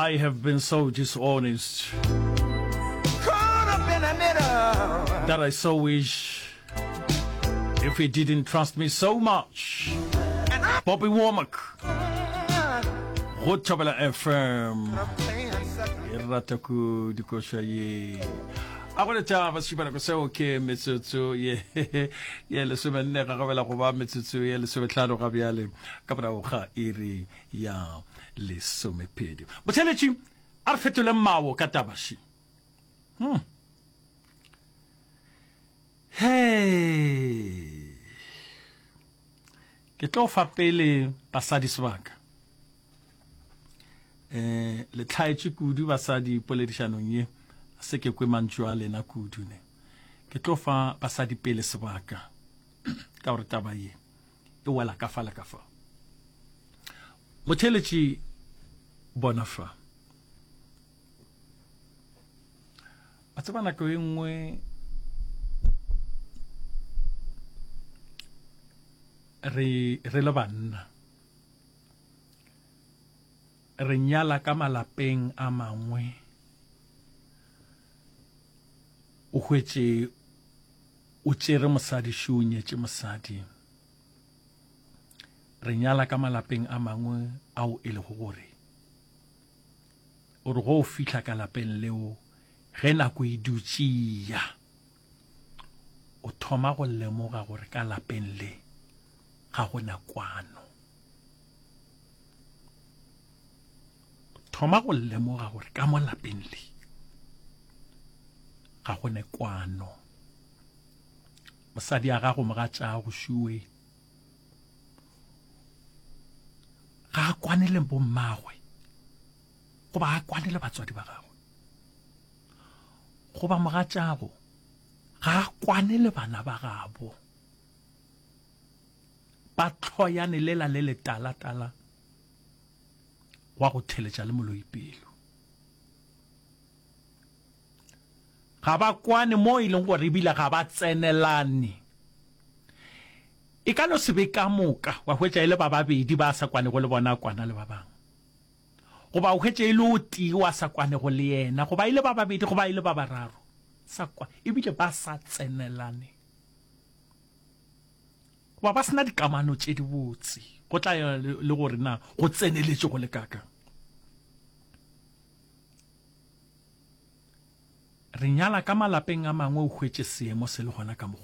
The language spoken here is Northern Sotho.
I have been so dishonest that I so wish if he didn't trust me so much. Bobby Womack. Go Thobela FM. E rata kudu koša ye. A go letaba sešupanako seo ke metsotso ye ye lesomenne ga gabela go ba metsotso ye lesometlhano ga bjale ka morago ga iri ya lesomepedi. Motheletši a re fetole mawo ka tabaši. Hmm. Hei. Ke tlo fa pele basadi sebaka. Eh, le tlhaetše kudu basadi poledišanong ye. Se ke kwe mantšu a lena kudu ne. Ke tlo fa basadi pele sebaka ka gore taba ye e wela ka fa le ka fa. Motheeletši bona fa. A tseba nako e nngwe re re le banna re nyala ka malapeng a mangwe o hwetše o tšere mosadi šo o nyetše mosadi re nyala ka malapeng a mangwe ao e lego gore o re go o fihla ka lapeng leo ge nako e dutše ya o thoma go lemoga gore ka lapeng le ga go na kwano o thoma go lemoga gore ka mo lapeng le ga go ne kwano mosadi a gago mogatšago šuwe ga a kwane le bommagwe goba a kwane le batswadi ba gagwe goba mogatšago ga a kwane le bana ba gabo ba tlhoyane lela le letalatala wa go theletša le moloi pelo Ga ba kwane mo e leng gore ebile ga ba tsenelane. E ka no se be ka moka wa hwetša e le ba babedi ba sa kwanego le bona a kwana le ba bangwe. Goba o hwetše e le o tee wa sa kwanego le yena, goba e le ba babedi goba e le ba bararo. Sa kwa, ebile ba sa tsenelane. Goba ba se na dikamano tše dibotse. Go tla ya le gore na go tseneletše go le kaakang. Re nyala ka malapeng a mangwe o hwetše seemo se le gona ka mokgwa.